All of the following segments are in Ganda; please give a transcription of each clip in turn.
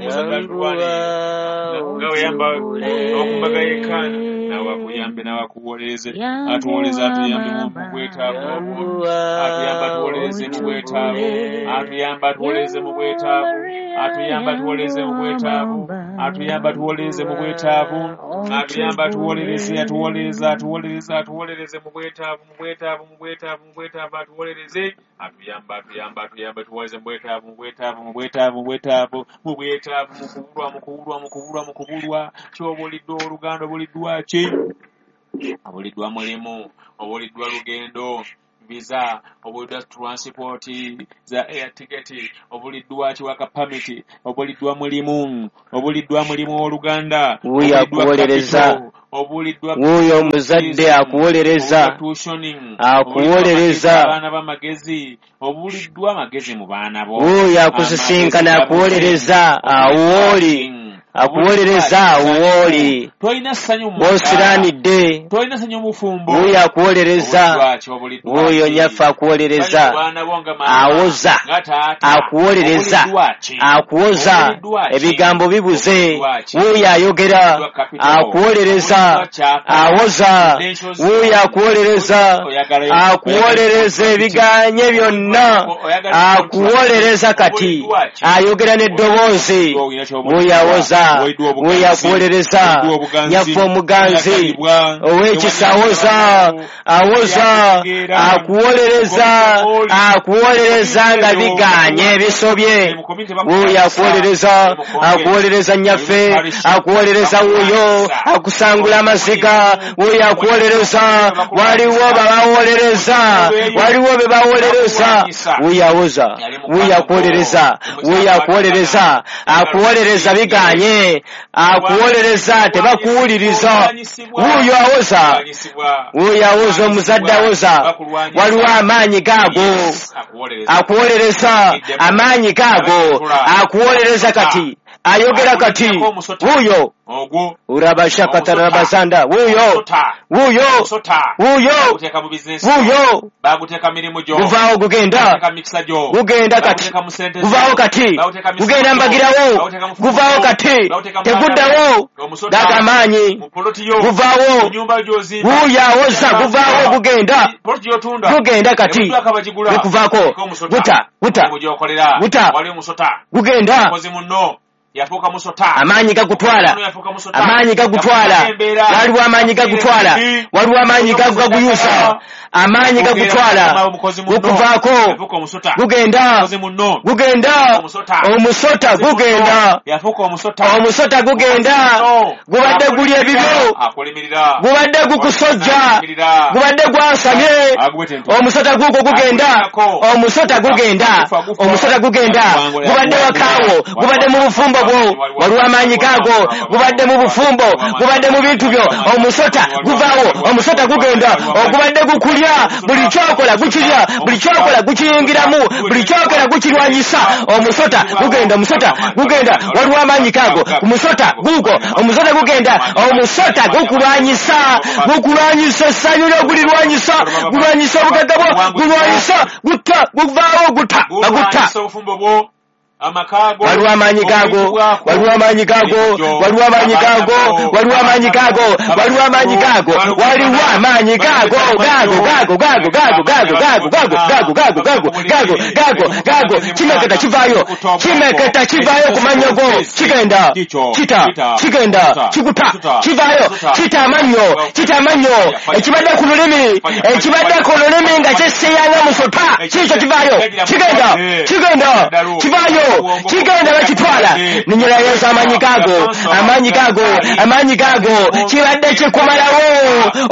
Omuzadde atulwanirire nga weyamba okumbaga yekkaana, nawe akuyambe, nawe akuwolereze, atuwolereze, atuyambe mu bwetaavu obwo, atuyambe, atuwolereze mu bwetaavu, atuyambe, atuwolereze mu bwetaavu, atuyambe, atuwolereze mu bwetaavu, atuyambe, atuwolereze mu bwetaavu, atuyambe, atuwolereze, atuwolereze, atuwolereze, atuwolereze mu bwetaavu, mu bwetaavu, mu bwetaavu, mu bwetaavu, atuwolereze, atuyambe, atuyambe, atuyambe, atuwolereze mu bwetaavu, mu bwetaavu, mu bwetaavu, mu bwetaavu, mu bwetaavu, mu kubulwa, mu kubulwa, mu kubulwa, mu kubulwa. Kyobuliddwa oluganda, obuliddwa ki? Obuliddwa mulimu, obuliddwa lugendo, visa, obuliddwa transport za air ticket, obuliddwa kiwaka permit, obuliddwa mulimu, obuliddwa mulimu oluganda, Wuuyo akuwolereza. Obuliddwa Wuuyo omuzadde akuwolereza. Tuitioning, Akuwolereza. abaana b'amagezi, obuliddwa amagezi mu baana bo. Wuuyo akusisinkana akuwolereza awo wooli. Akuwolereza awo wooli. Tolina ssanyu mu maka. W'osiraanidde. Tolina ssanyu mu bufumbo. Wuuyo akuwolereza. Obuliddwa ki? Obuliddwa Wuuyo ki? nyaffe akuwolereza. Baana bo nga maama, Awoza. nga taata. Akuwolereza. Obuliddwa ki? Akuwoza. Obuliddwa ki? Ebigambo bibuze. Obuliddwa ki? Wuuyo ayogera. Obuliddwa capital. Akuwolereza. Obuliddwa kyapa. Awoza. Credentials. Wuuyo akuwolereza. Akuwolereza ebiganye byonna. Akuwolereza kati. Ayogera n'eddoboozi. Wuuyo awoza. Wuuyo akuwolereza. Nyaffe omuganzi. Ow'ekisa awoza. Awoza. Akuwolereza. Akuwolereza nga biganye ebisobye. Wuuyo akuwolereza. Akuwolereza nnyaffe. Akuwolereza wuuyo. Akusangula amaziga. Wuuyo akuwolereza. Waliwo babawolereza. Waliwo be bawolereza. Wuuyo awoza. Wuuyo akuwolereza. Wuuyo akuwolereza. Akuwolereza biganye. Akuwolereza tebakuwuliriza. Wuuyo awoza. Wuuyo awoza, omuzadde awoza. Waliwo amaanyi gaago. Akuwolereza amaanyi gaago. Akuwolereza kati. Ayogera kati. Wuuyo. Ogwo Urabashakatarabasanda. Wuuyo. Wuuyo. Wuuyo. Baguteeka mu bizinesi, Wuuyo. baguteeka mirimu gyo, Guvaawo gugenda. baguteeka mikisa gyo, Gugenda kati. baguteeka mu sente zo, Guvaawo kati. baguteeka mu Gugenda misimu gyo, mbagirawo. baguteeka mu fumu Guvaawo gyo, kati. baguteeka mu Teguddawo. omusota, Gaga amaanyi. mu poloti yo, Guvaawo. mu nyumba gy'ozimba, Wuuyo awoza. Guvaawo gugenda. poloti gy'otunda, Gugenda kati. ebuddwako abagigula, Gukuvaako. Teeka omusota. Guta. Guta. Mulimu gy'okolera, Guta. wali omusota, Gugenda. mukozi munno yafuuka musota, Amaanyi gagutwala. Munno yafuuka musota, Amaanyi gagutwala. Yafuuka embeera. Waliwo amaanyi gagutwala. Waliwo amaanyi gaguyusa. Amaanyi gagutwala. Gukuvaako. Yafuuka omusota, Gugenda. mukozi munno Gugenda. omusota, Omusota gugenda. yafuuka omusota, Omusota gugenda. Gubadde guli ebibyo. Akulimirira, Gubadde gukusojja. Gubadde gwasamye. Omusota guugwo gugenda. Omusota gugenda. Omusota gugenda. Gubadde wakaawo. Gubadde mu bufumbo bwo. Waliwo amaanyi gaago. Gubadde mu bufumbo. Gubadde mu bintu byo. Omusota guvaawo. Omusota gugenda. Ogubadde gukulya. Buli kyokola gukirya. Buli kyokola gukiyingiramu. Buli kyokola gukirwanyisa. Omusota gugenda. Omusota gugenda. Waliwo amaanyi gaago. Omusota guugwo. Omusota gugenda. Omusota gukulwanyisa. Gukulwanyisa essanyu lyo gulirwanyisa. Gulwanyisa obugagga bwo. Gulwanyisa. Gutta. Guvaawo gutta. Bagutta. Gulwanyisa obufumbo bwo, amaka go, Waliwo amaanyi gaago. Waliwo amaanyi gaago. Waliwo amaanyi gaago. Waliwo amaanyi gaago. Waliwo amaanyi gaago. Waliwo amaanyi gaago. Gaago gaago gaago gaago gaago gaago gaago gaago gaago gaago gaago gaago gaago. Kimeketa kivaayo. Kimeketa kivaayo ku mannyo go. Kigenda. Kita. Kigenda. Kikuta. Kivaayo. Kita amannyo. Kita amannyo. Ekibadde ku lulimi. Ekibadde ku lulimi nga kyesseeyanga musota. Kiikyo kivaayo. Kigenda. Kigenda. Kivaayo. Kigenda bakitwala. Ninnyira Yesu amaanyi gaago. Amaanyi gaago. Amaanyi gaago. Kibadde kikumalawo.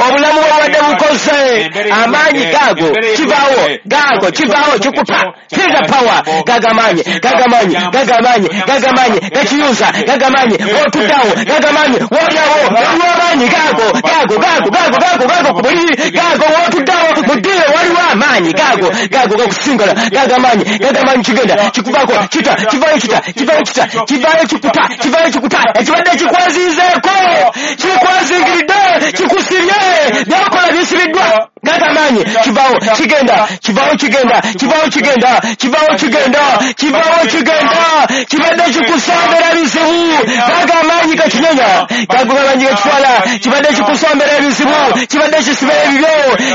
Obulamu bwe bubadde bukoze. Amaanyi gaago. Kivaawo. Gaago. Kivaawo. Kikuta. Feel the power. Gaga amaanyi. Gaga amaanyi. Gaga amaanyi. Gaga amaanyi. Gakiyuza. Gaga amaanyi. Wotuddawo. Gaga amaanyi. Wolyawo. Waliwo amaanyi gaago. Gaago. Gaago. Gaago. Gaago. Gaago ku buliri. Gaago wotuddawo. Mu ddiiro waliwo amaanyi gaago. Gaago gakusingala. Gaga amaanyi. Gaga amaanyi kigenda. Kikuvaako. Kita. Kivaayo kita. Kivaayo kita. Kivaayo kikuta. Kivaayo kikuta. Ekibadde kikwazinzeeko. Kikwazingiridde. Kikusibye. Byakola bisibiddwa. Gaga amaanyi. Kivaawo kigenda. Kivaawo kigenda. Kivaawo kigenda. Kivaawo kigenda. Kivaawo kigenda. Kibadde kikusambera. Gakitwala, gago amaanyi gakitwala. Kibadde kikusombera ebizibu, kibadde kisiba ebibyo,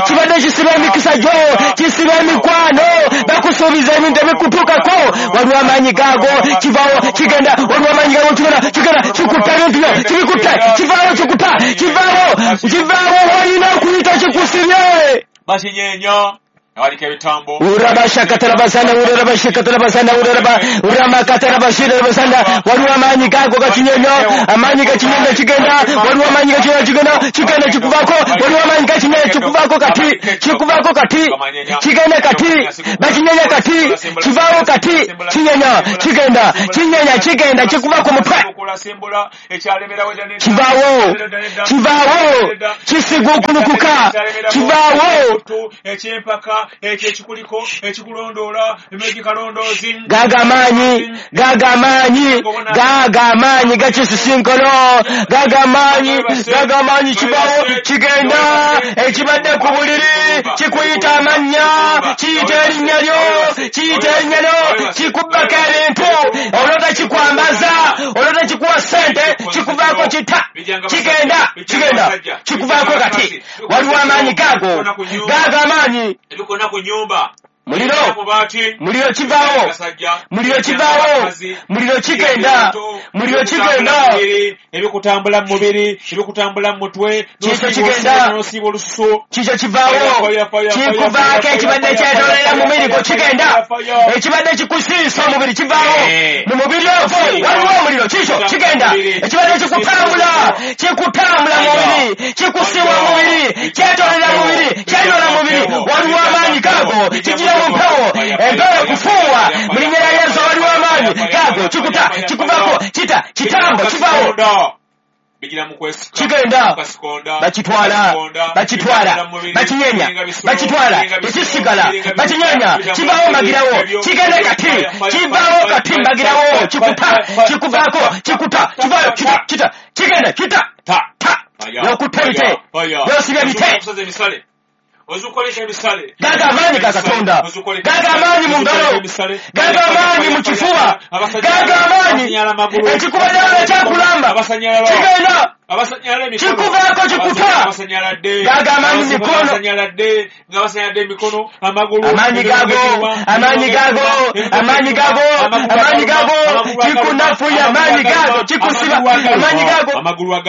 kibadde kisiba emikisa gyo, kisiba emikwano, bakusuubiza ebintu ebikutuukako. Waliwo amaanyi gaago, kivaawo, kigenda. Waliwo amaanyi gaago, kigenda, kigenda, kikutta ebintu byo, kibikutta, kivaawo, kikuta, kivaawo, kivaawo. Olina okuyita kikusibye. Bakinyeenya awaliko ebitambo. Urabashakatarabasanda, urabashakatarabasanda, uraba uramakatarabashirabasanda. Waliwo amaanyi gaago gakinyenyo, amaanyi gakinyenyo kigenda. Waliwo amaanyi gakinyenyo kigenda, kigenda, kikuvaako. Waliwo amaanyi gakinyenyo kikuvaako kati, kikuvaako kati, kigenda kati, bakinyenya kati, kivaawo kati, kinyenya, kigenda, kinyenya, kigenda, kikuva ku mutwe. Simbula ekyalemerawo edda nedda. Kivaawo, kivaawo, kisiguukulukuka, kivaawo. Ekyempaka ekyo ekikuliko ekikulondoola emegikalondoozi. Gaga amaanyi, gaga amaanyi, gaga amaanyi gakisisinkono, gaga amaanyi, gaga amaanyi, kivaawo, kigenda. Ekibadde ku buliri kikuyita amannya, kiyita erinnya lyo, kiyita erinnya lyo, kikubbako ebintu, olota kikwambaza, olota kikuwa ssente, kikuvaako, kita, kigenda, kigenda, kikuvaako kati. Waliwo amaanyi gaago, gaga amaanyi. Ebikona ku nyumba. Muliro. Mubaati. Muliro, kivaawo. Abasajja. Muliro, kivaawo. Muliro, kigenda. Muliro, kigenda. Ebikutambula mu mubiri, ebikutambula mu mutwe. Kikyo kigenda. Nosiiba olususu. Kikyo kivaawo, kikuvaako. Ekibadde kyetoolera mu mubiri gwo kigenda. Ekibadde kikusiisa omubiri kivaawo. Mu mubiri ogwo waliwo omuliro, kikyo kigenda. Ekibadde kikutambula, kikutambula mu mubiri, kikusiiwa mu mubiri, kyetoolera mu mubiri, kyeyoola mu mubiri, waliwo amaanyi gaago kigira mu mpewo, empewo ekufuuwa. Mu linnya lya Yesu, waliwo amaanyi gaago kikuta, kikuvaako, kita, kitambo, kivaawo. Bigira mu kwesika. Kigenda. Basikonda. Bakitwala, bakitwala, bakinyenya, bakitwala, tekisigala, bakinyenya, kivaawo mbagirawo, kigenda kati, kivaawo kati mbagirawo, kikuta, kikuvaako, kikuta, kivaayo, kita, kita, kigenda, kita, ta ta, yokutta bite, yosibye bite. Okusaza emisale, ozukoleka emisale. Gaga amaanyi ga Katonda, gaga amaanyi mu ngalo, gaga amaanyi mu kifuba, gaga amaanyi ekikubaddewo ekyakulamba kigenda. Abasanyala emikono. Kikuvaako, kikuta. Abasanyaladde. Gaga amaanyi mu mikono. Abasanyaladde nga basanyaladde emikono, amagulu. Amaanyi gago, amaanyi gago, amaanyi gago, amaanyi gago kikunafuya, amaanyi gago kikusiba, amaanyi gago,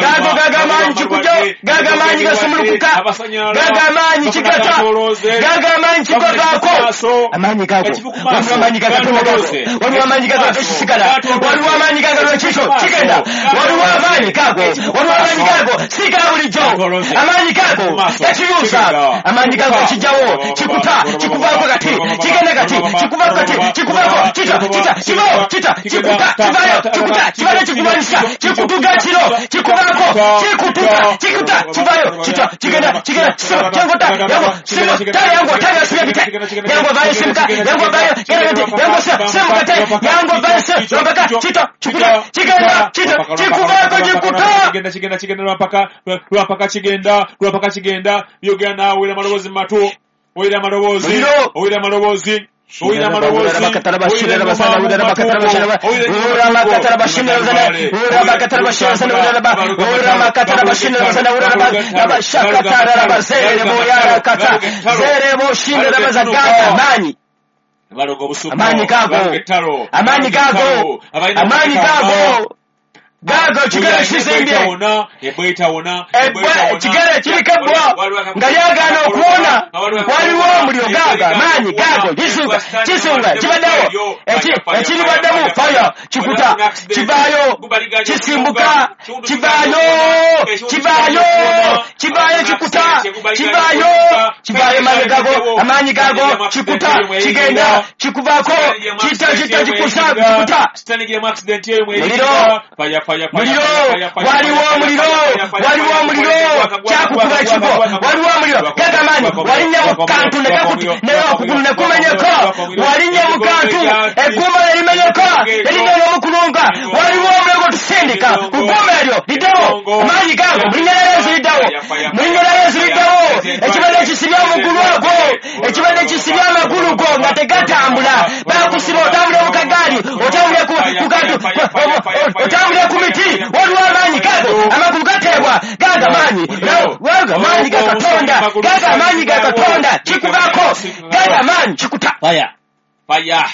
gago, gaga amaanyi kikujo, gaga amaanyi gasumulukuka, gaga amaanyi kigata, gaga amaanyi kikovaako, amaanyi gago. Waliwo amaanyi ga Katonda gago, waliwo amaanyi gago tekisigala, waliwo amaanyi gago lwekikyo kigenda, waliwo amaanyi gago, waliwo amaanyi gago si ga bulijjo, amaanyi gago gakiyuza, amaanyi gago kijjawo, kikuta, kikuvaako kati, kigenda kati, kikuvaako kati, kikuvaako, kita, kita, kivaawo, kita, kikuta, kivaayo, kikuta, kivaayo, kikulwanyisa, kikutuga kiro, kikuvaako, kikutuga, kikuta, kivaayo, kita, kigenda, kigenda, kisiba, kyangota, yango, siba, tale yango, tale yasibye bite, yango vayo, simuka, yango vayo, genda bite, yango siba, simuka te, yango vayo, siba, rombaka, kita, kikuta, kigenda, kita, kikuvaako, kikuta. Kigenda, kigenda, kigenda, lwampaka, lwampaka, kigenda, lwampaka, kigenda. Byogera naawe, owulira amaloboozi mu matu, owulira amaloboozi. Muliro. Owulira amaloboozi, owulira amaloboozi, Amaanyi. Baloga obusuku. Amaanyi gago. Baloga ettalo. Amaanyi gago. Amaanyi gago, gago kigere kizimbye. Ebbwa etawona. Ebbwa, kigere kiriko ebbwa nga lyagaana okuwona, waliwo omuliro. Gaago amaanyi gago kisunga, kisunga kibaddewo, ekiribaddemu faya, kikuta, kivaayo, kisimbuka, kivaayo, kivaayo, kivaayo, kikuta, kivaayo, kivaayo, amaanyi gago, amaanyi gago kikuta, kigenda, kikuvaako, kita, kita, kikusa, kikuta. Sitanigiremu accident eyo. Muliro. Faya, faya. Muliro, waliwo omuliro, waliwo omuliro kyakukuba ekifo, waliwo omuliro. Gagamaanyi walinnya mu kantu okugulu ne kumenyeka, walinnya mu kantu eggumba ne limenyeka, erinnya n'omukulunga, waliwo omuliro gwe tusindika ku ggumba eryo, liddewo amaanyi gago mu linnya lya Yesu, liddewo mu linnya lya Yesu, liddewo. Ekibadde kisibye omugulu ogwo, ekibadde kisibye amagulu go nga tegatambula, bakusiba, otambule mu kagaali, otambule ku kantu, otambule ku miti, waliwo amaanyi gago, Gago amaanyi ga Katonda kikuvaako. Gago amaanyi kikuta. Fire. Fire.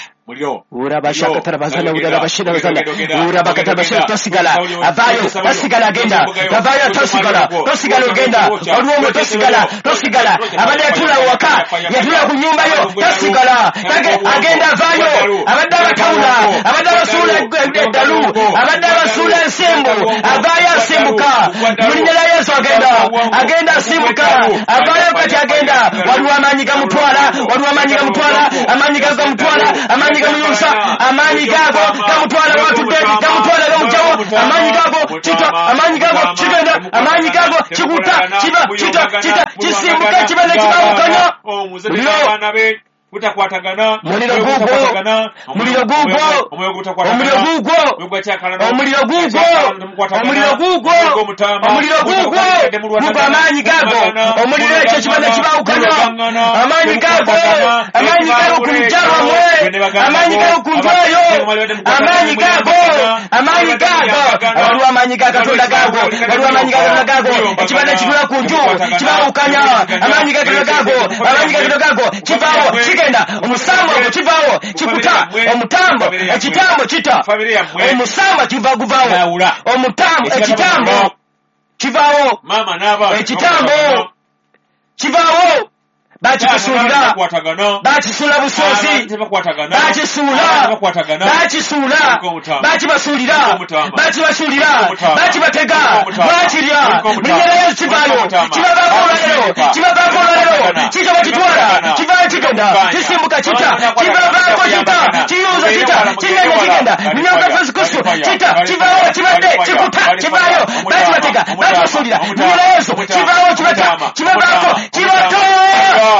Tosigala avaayo, tosigala agenda, avaayo, tosigala, tosigala ogenda, olwomwo tosigala, tosigala. Abadde yatuula waka, yatuula ku nnyumba yo, tosigala agenda, avaayo. Abadde abatawula, abadde abasuula eddalu, abadde abasuula ensimbu, avaayo, asimbuka mu linnya lya Yesu. Agenda, agenda, asimbuka, avaayo kati, agenda. Waliwo amaanyi gamutwala, waliwo amaanyi gamutwala, amaanyi gamutwala, amaanyi gamuyusa, amaanyi gago gamutwala watudde, gamutwala, gamugjawo. Amaanyi gago kita, amaanyi gago kigenda, amaanyi gago kikuta, kiba kita, kita kisimbuka, kiba nekibawukanya. Muliro gugwo, muliro gugwo, omuliro gugwo, omuliro gugwo, omuliro gugwo, omuliro gugwo gugwo, amaanyi gago, omuliro ekyo kiba nekibawukanya. Amaanyi gago, amaanyi gago ku lujja lwammwe, amaanyi gago ku nju eyo, amaanyi gago, amaanyi gago. Waliwo amaanyi ga Katonda gago, waliwo amaanyi ga Katonda gago. Ekibadde kitula ku nju kibawukanya. Amaanyi ga Katonda gago, amaanyi ga Katonda gago, kivaawo, kigenda. Omusambo ogwo kivaawo, kikuta omutambo, ekitambo kita omusamba, kiva guvaawo omutambo, ekitambo kivaawo, ekitambo kivaawo. Bakikusuulira, bakisuula busuuzi, bakisuula, bakisuula, bakibasuulira, bakibasuulira, bakibatega, bakirya. Mulinnya lya Yesu kivaayo, kibavaako olwaleero, kibavaako olwaleero. Kikyo bakitwala, kivaayo, kigenda, kisimbuka, kita, kibavaako, kita kiyuza, kita kigenda, kigenda mulinnya lya Yesu Kristo. Kita kivaawo, kibadde kikuta, kivaayo, bakibatega, bakibasuulira. Mulinnya lya Yesu kivaawo, kibata, kibavaako, kibata,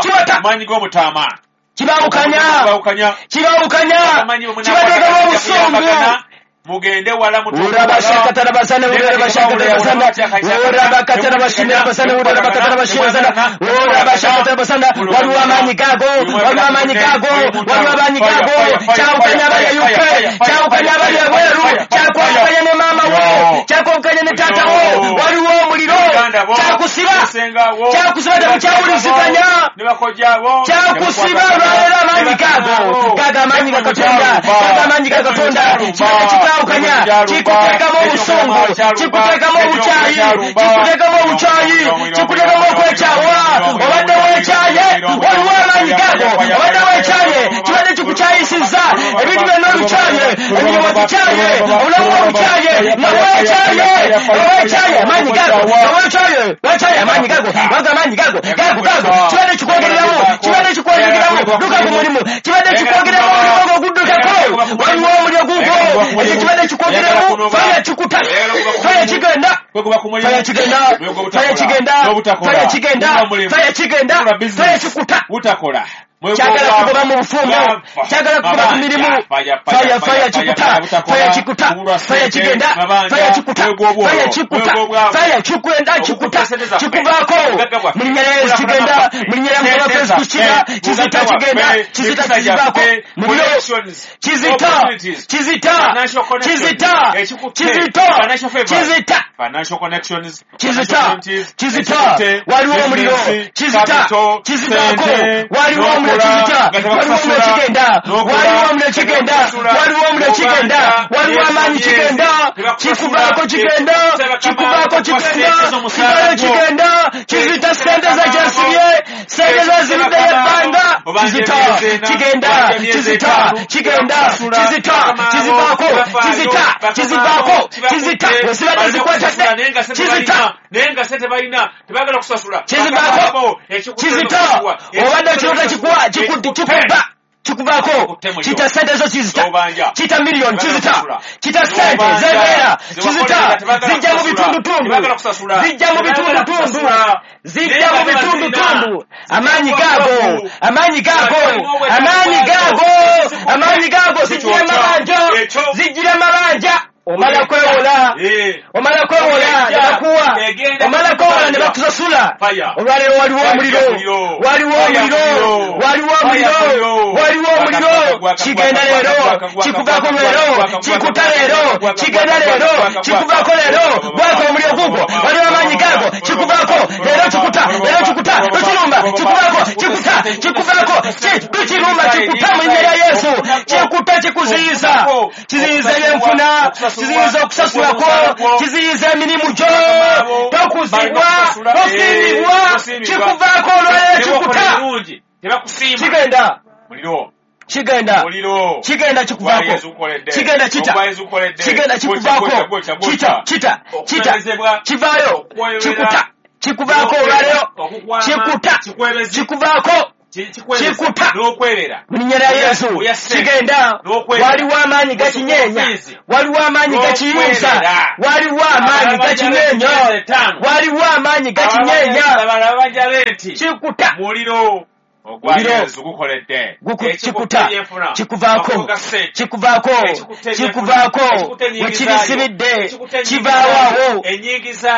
kibata, kibawukanya, kibawukanya, kibateekamu obusungu. Mugende wala. Urabashakatarabasana, urabashakatarabasana, urabakatarabashinabasana, urabakatarabashinabasana, urabashakatarabasana. Waliwo amaanyi gago, waliwo amaanyi gago, waliwo amaanyi gago. Kyawukanya abali e UK, kyawukanya abali ebweru, kyakwawukanya ne maama wo, kyakwawukanya ne taata wo. Waliwo omuliro, kyakusiba, kyakusiba, temukyawuliziganya, kyakusiba olwaleero. Amaanyi gago, gago amaanyi ga Katonda, gago amaanyi ga Katonda. Kibadde kikawukanya, kikuteekamu obusungu, kikuteekamu obukyayi, kikuteekamu obukyayi, kikuteekamu okwekyawa. Obadde weekyaye, waliwo amaanyi gago. Obadde weekyaye, kibadde kikukyayisizza ebintu byonna, olukyaye, emirimu ogikyaye, obulamu obukyaye, nga weekyaye, nga weekyaye. Amaanyi gago, nga weekyaye, weekyaye. Amaanyi gago, waga amaanyi gago, gago, gago. Kibadde kikwogereramu, kibadde kikwogereramu. Duka ku mulimu, kibadde kikwogereramu, omulimu ogwo guddukako. Waliwo omuliro gugwo, ekyo kibadde kikwogereramu. Fire kikuta, fire kigenda, fire kigenda, fire kigenda, fire kigenda, fire kigenda, fire kikuta. Kyagala kugoba mu bufumbo, kyagala kugoba ku mirimu. Fire, fire kikuta, fire kikuta, fire kigenda, fire kikuta, fire kikuta, fire kikwenda, kikuta, kikuvaako mu linnya lya Yesu. Kigenda mu linnya lya Mukama waffe Yesu. Kira kizita, kigenda, kizita, kizivaako muliro, kizita, kizita, kizita, kizita, kizita, kizita, kizita. Waliwo omuliro, kizita, kizivaako. Waliwo omuliro, kizita. Waliwo omuliro, kigenda. Waliwo omuliro, kigenda. Waliwo omuliro, kigenda. Waliwo amaanyi, kigenda, kikuvaako, kigenda, kikuvaako, kigenda, kivayo, kigenda, kizita. Sente zakyasibye, sente zaziruddeyo ebbanga, kizita, kigenda, kizita, kigenda, kizita, kizivaako, kizita, kizivaako, kizita. Wesibadde zikwatadde, kizita, Naye nga sente balina, tebagala kusasula. Kizivaako, kizita. Obadde ekirooto kikuwa, kikubba, kikuvaako. Kita sente zo, kizita. Kita miliyoni, kizita. Kita sente zebeera, kizita. Zijja mu bitundutundu, zijja mu bitundutundu, zijja mu bitundutundu. Amaanyi gago, amaanyi gago, amaanyi gago, amaanyi gago. Zijjira mabanja, zijjira mabanja. Omala kwewola, omala kwewola ne bakuwa, omala kwewola ne bakusasula. Olwaleero waliwo omuliro, waliwo omuliro, waliwo omuliro, waliwo omuliro. Kigenda leero, kikuvaako leero, kikuta leero, kigenda leero, kikuvaako leero. Gwaka omuliro gugwo, waliwo amaanyi gaago, kikuvaako leero, kikuta leero, kikuta, tukirumba, kikuvaako, kikuta, kikuvaako, tukirumba, kikuta mu linnya lya Yesu. Kikuta, kikuziyiza, kiziyiza ebyenfuna, kiziyiza okusasulako, kiziyiza emirimu gyo, tokuzibwa, tosiimibwa, kikuvaako olwaleero, kikuta, kigenda, kigenda, kigenda, kikuvaako, kigenda, kita, kigenda, kikuvaako, kita, kita, kita, kivaayo, kikuta, kikuvaako olwaleero, kikuta, kikuvaako, kikuta mu linnya lya Yesu. Kigenda. Waliwo amaanyi gakinyeenya, waliwo amaanyi gakiyuza, waliwo amaanyi gakinyeenya, waliwo amaanyi gakinyeenya. Kikuta, kikuta, kikuvaako, kikuvaako, kikuvaako. Wekirisibidde kivaawo awo.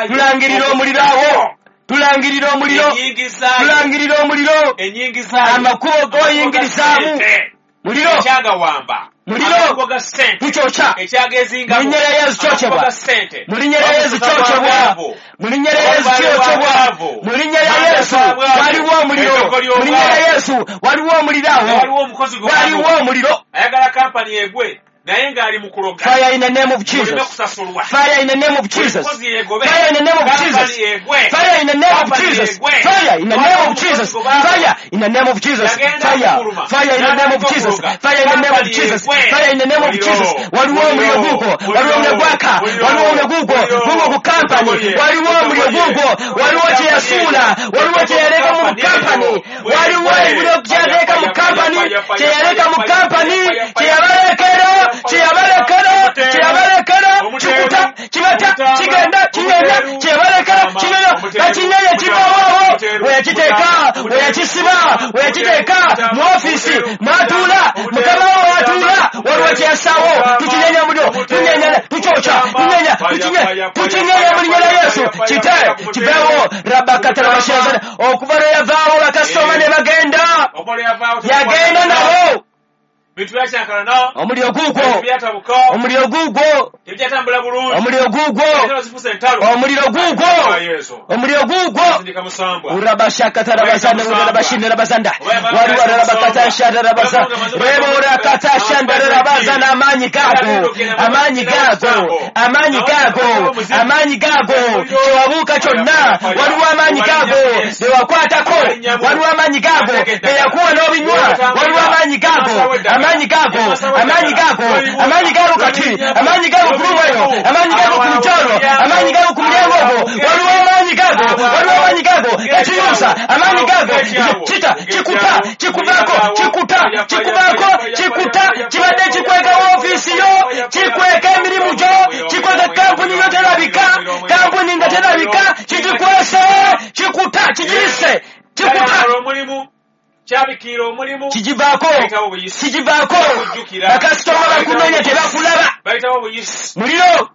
Tulangirira omuliro awo, tulangirira omuliro, tulangirira omuliro. Amakubo g'oyingirizaamu muliro, muliro, tukyokya mu linnya lya Yesu. Kyokyebwa mu linnya lya Yesu, kyokyebwa mu linnya lya Yesu, kyokyebwa mu linnya lya Yesu. Waliwo omuliro mu linnya lya Yesu, waliwo omuliro awo, waliwo omuliro. Ayagala kampani egwe naye ng'ali mu kuloga. Fire in the name of Jesus. Fire in the name of Jesus. Fire in the name of Jesus. Fire in the name of Jesus. Fire in the name of Jesus. Fire in the name of Jesus. Fire. Fire in the name of Jesus. Fire in the name of Jesus. Fire in the name of Jesus. Waliwo omuliro gugwo, waliwo omuliro gwaka, waliwo omuliro gugwo, gugwo ku kampani, waliwo omuliro gugwo, waliwo kye yasuula, waliwo kye yaleka mu kampani, waliwo ebiro kye yaleka mu kampani, kye yaleka mu kampani, kye yabalekera, kyeyabalekera, kyeyabalekera, kikuta, kibata, kigenda, kinyenya, kyeyabalekera, kinyenya, bakinyenya, kivaawo weyakiteeka, weyakisiba, weyakiteeka mu ofiisi mwatuula, mukama wo watuula, waliwo kyeyasaawo. Tukinyenya muliro, tunyenya, tukyokya, tunyenya, tukinyenya mu linnya lya Yesu. Kite, kiveewo. Rabakatalabashazana. Okuva lwe yavaawo bakasitoma ne bagenda, yagenda nabo. Omuliro gugwo, omuliro gugwo, omuliro gugwo, omuliro gugwo, omuliro gugwo. Urabashakatarabazanda, urabashindarabazanda, waliwo rabakatashandarabazanda, reborakatashanda, amaanyi gago, amaanyi gago, amaanyi gago, amaanyi gago. Kyewabuuka kyonna waliwo amaanyi gago bewakwatako, waliwo amaanyi gago beyakuwa n'obinywa, waliwo amaanyi gago, amaanyi gago, amaanyi gago, amaanyi gago kati, amaanyi gago ku lubayo, amaanyi gago ku lukyalo, amaanyi gago ku mulyango ogwo, waliwo amaanyi gago, waliwo amaanyi gago gakiyusa, amaanyi gago kita, kikuta, kikuvaako, kikuta, kikuvaako, kikuta. Kibadde kikweka woofiisi yo, kikweka emirimu gyo, kikweka kampuni yo terabika, kampuni nga terabika, kigikwese, kikuta, kigirise, kikuta, kigivaako, kigivaako. Bakasitoma bakunoonya tebakulaba, muliro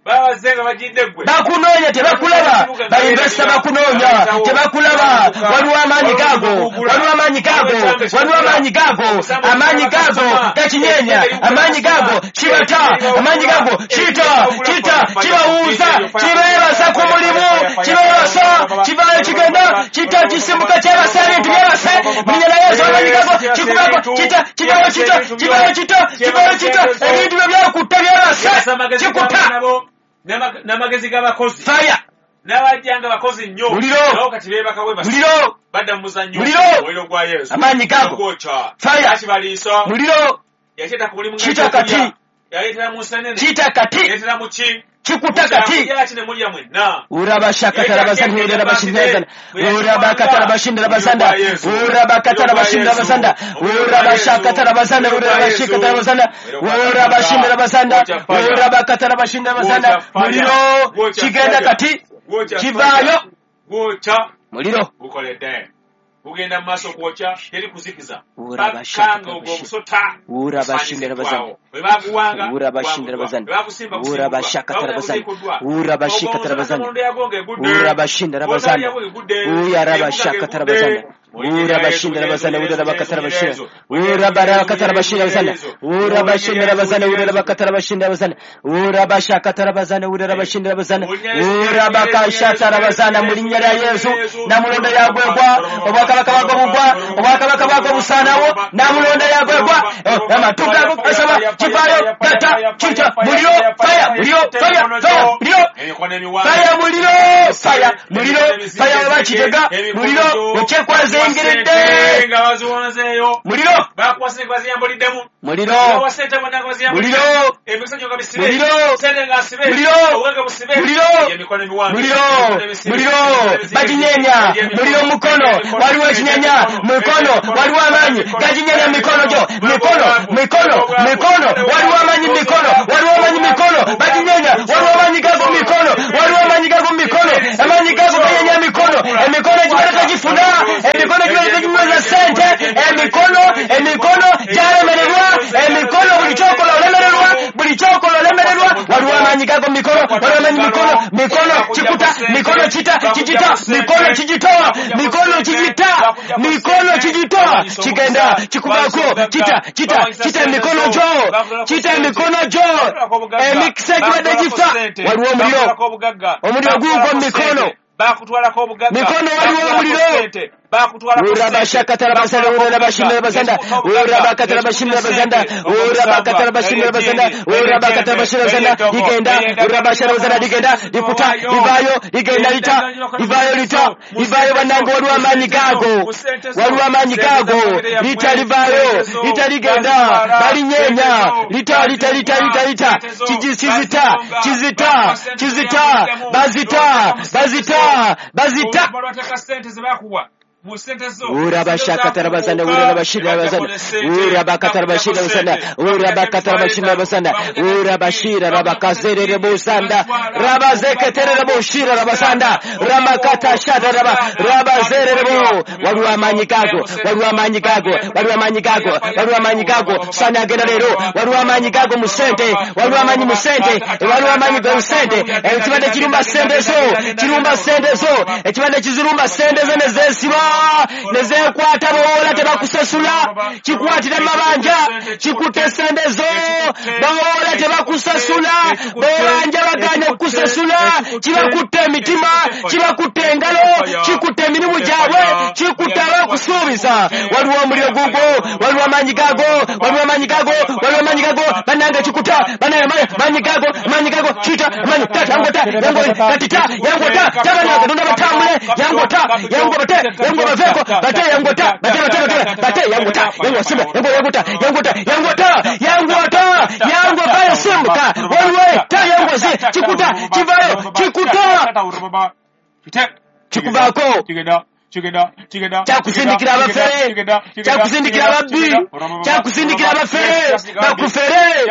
bakunoonya tebakulaba, bainvesita bakunoonya tebakulaba. Waliwo amaanyi gago, waliwo amaanyi gago, waliwo amaanyi gago, amaanyi gago gakinyeenya, amaanyi gago kibata, amaanyi gago kita, kita, kibawuuza, kibeebasa ku mulimu, kibeebasa, kivaayo kigenda, kita, kisimbuka, kyebasa ebintu byebase mu linnya lya Yesu. Amaanyi gago kikuvaako, kita, kivaayo kita, kivaayo kita, kivaayo kita, ebintu byo byakutta byebase, kikuta n'amagezi g'abakozi. Fire n'abajjanga bakozi nnyo, muliro, nabo kati beebaka bwe basi, muliro, badda mu muzannyo, muliro, omuliro gwa Yesu, amaanyi gago, gwokya, fire, akibaliisa, muliro, yakyeta ku mulimu, kita kati, yaleetera mu nsenene, kita kati, yaleetera mu ki, kikuta kati. Kyaki ne mulya mwenna. Urabashakatarabazanirabashinazana, urabakatarabashindarabazanda, urabakatarabashindarabazanda, urabashakatarabazanda, urabashikatarabazanda, urabashindarabazanda, urabakatarabashindarabazanda. Muliro kigenda kati, kivaayo gwokya, muliro. Gukoledde. Gugenda mu maaso okwokya, teri kuzikiza. Paka nga ogwo omusota gusaanyizibwawo. Bwe baguwanga, guwanguddwa. Bwe bagusimba, gusimbuddwa. Bwe baguziikuddwa. Ogwo omusota Namulondo yagwo ng'egudde. Wotaali yagwo ng'egudde. Embuga ng'egudde. Mu linnya lya Yesu, Namulondo yagwegwa, obwakabaka bwako bugwa, obwakabaka bwako busaanawo, Namulondo yagwegwa, amatu gago gasaba, kivaayo, gata, kita, muliro, fire, muliro, fire, fire, muliro, fire, muliro, fire, muliro, fire, oba kitega, muliro, okyekwazengeredde, nga baziwanzeeyo. Muliro, Bakuwa ssente nga baziyambuliddemu. Muliro, Bakuwa ssente bonna nga baziyambulidde. Muliro, Emikisa gyo nga bisibe. Muliro, Ssente nga nsibe. Muliro, Obugagga busibe. Muliro, Emikono emiwanvu. Muliro, Emikono emisibe. Muliro, Emikono emisibe. Baginyeenya, muliro mu mukono, waliwo ekinyenya, mikono, waliwo amaanyi, gaginyeenya mu mikono gyo, mikono, mikono, mikono, waliwo amaanyi mu mikono, waliwo amaanyi mu mikono, baginyeenya, waliwo amaanyi gago mu mikono, waliwo amaanyi gago mu mikono, amaanyi gago ganyenya emikono, emikono egibadde tegifuna, emikono egibadde teginyweza ssente, emikono, emikono gyalemererwa, emikono buli kyokola olemererwa, buli kyokola olemererwa, waliwo amaanyi gago mu mikono, waliwo amaanyi mu mikono, mikono kikuta, mikono kita, kigita, mikono kigitowa, mikono kigita, mikono kigitowa, kigenda, kikuvaako, kita, kita, kita emikono gyo, kita emikono gyo, emikisa egibadde gifa, waliwo omuliro, omuliro guugwo mu mikono, Bakutwalako obugagga. Mikono waliwo omuliro. Ssente. Bakutwalako Urabashakatarabasanda, urabashindarabasanda, urabakatarabashindarabasanda, urabakatarabashindarabasanda, urabakatarabashindarabasanda, ligenda, urabasharabasanda, ligenda, likuta, livaayo, ligenda lita, livaayo lita, livaayo bannange, waliwo amaanyi gaago, waliwo amaanyi gaago, lita livaayo, lita ligenda, balinyeenya, lita, lita, lita, lita, lita, kizita, kizita, kizita, bazita, bazita, bazita. Bateeka ssente ze bakuwa mu ssente zo. Urabashakatarabasanda, urabashirabasanda, urabakatarabashirabasanda, urabakatarabashirabasanda, urabashira rabakazererebusanda, rabazeketererebushira rabasanda, ramakatashada raba, rabazererebo. Waliwo amaanyi gago, waliwo amaanyi gago, waliwo amaanyi gago, waliwo amaanyi gago, sani agenda leero, waliwo amaanyi gago mu ssente, waliwo amaanyi mu ssente, waliwo amaanyi mu ssente, ekibadde kirumba ssente zo, kirumba ssente zo, ekibadde kizirumba ssente zo ne zeesiba, ne zeekwata bawoola tebakusasula, kikwatira mu mabanja, kikutte ssente zo, bawoola tebakusasula, bobanja bagaanye okukusasula, kibakutte emitima, kibakutte engalo, kikutte emirimu gyabwe, kikutte abakusuubiza. Waliwo omuliro gugwo, waliwo amaanyi gago, waliwo amaanyi gago, waliwo amaanyi gago, bannange kikuta, bannange amaanyi gago, amaanyi gago, kita, amaanyi, ta, yangota, yango, katita, yangota, tabana, Katonda batambule, yangota, yango bate, yango baveeko, bate, yangota, bate, bate, bate, bate, yangota, yango simba, yango, yangota, yangota, yangota, yangota, yango vayo simbuka, waliwo ta, yango zi, kikuta, kivayo, kikuta, kikuvaako, kyakusindikira abafere, kyakusindikira ababbi, kyakusindikira abafere, bakufere,